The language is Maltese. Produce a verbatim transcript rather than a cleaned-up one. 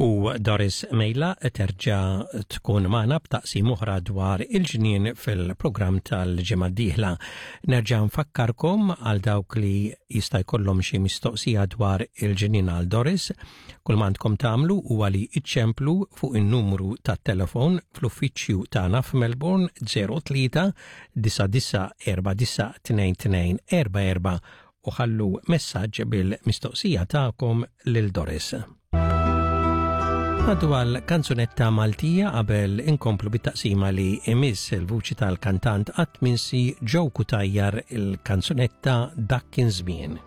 U Doris Mejla terġa' tkun magħna b'taqsima oħra dwar il-ġnien fil-programm tal-ġimgħa d-dieħla. Nerġa' nfakkarkom għal dawk li jista' jkollhom xi mistoqsija dwar il-ġnien għal Doris, kull m'għandkom tagħmlu huwa li iċċemplu fuq in-numru tat-telefon fl-uffiċċju tagħna f'Melbourne zero tlieta disa' disa' erba' disa' tnejn tnejn erba' erba' u ħallu messaġġ bil-mistoqsija tagħkom lil Doris. Ngħaddu għal kanzunetta Maltija qabel inkomplu bit-taqsima li imiss, il-vuċi tal-kantant qatt minsi Joe Cutajar, il-kanzunetta "Dak Kien Żmien".